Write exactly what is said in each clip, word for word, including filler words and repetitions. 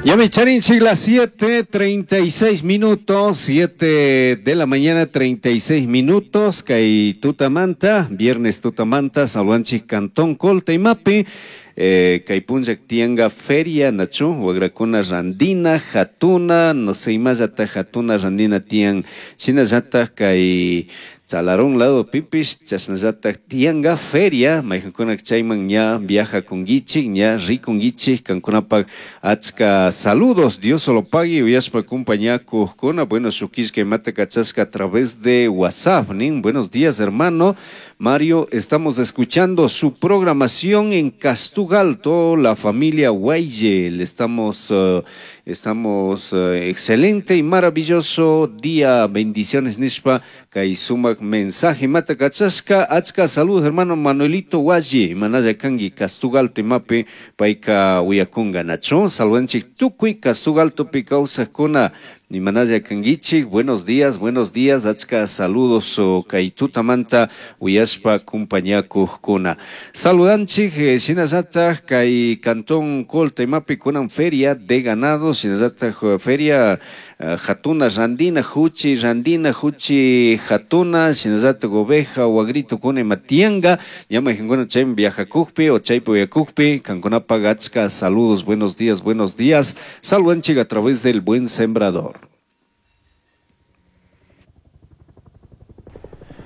Ya me charinchik las siete treinta y seis minutos, siete de la mañana treinta y seis minutos, kay tutamanta, viernes tutamanta, saludanchik Cantón Colta imapi, eh, kay punllak tianga feria nachu, wagrakuna randina, jatuna, no sé imallata jatuna randina tian, shinallata kay Chalarón lado pipish, chashnallata tianga feria, mayjankuna chayman ña viaja kungichik, ña rikungichik, kankunapak achka saludos, Dios solo pague, uyashpa compañakujkuna, bueno, shukishka imata kachashka a través de WhatsApp, nin, buenos días hermano Mario, estamos escuchando su programación en Castugalto, la familia Guaye, le estamos, uh, estamos, uh, excelente y maravilloso día, bendiciones nishpa, kay sumak mensaje mata kachashka, achka saludos hermano Manuelito Guaye, manaya kangi Castugalto imapi, payka uyakunga nacho, saludanchik tukuy Castugalto pi kawsakuna, Nimanaya kangichik, buenos días, buenos días, achka saludos o kay tutamanta uyashpa kumpañakujkuna. Saludanchik, eh, shinallata kay Cantón Colta imapi kunan feria de ganado, shinallata feria, eh, jatuna randina, juchi randina, juchi jatuna, shinallata oveja, wagrito kuna imatianga, ñama jinguna chay viajakujpi o chaypi uyakujpi, kankunapaq achka saludos, buenos días, buenos días, saludanchik a través del Buen Sembrador.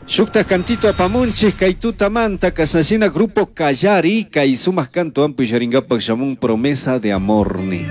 Shukta cantito apamunchik kay tutamanta kasashina grupo Kallari kay sumaq canto ampi sharingapak shamun promesa de amor ni.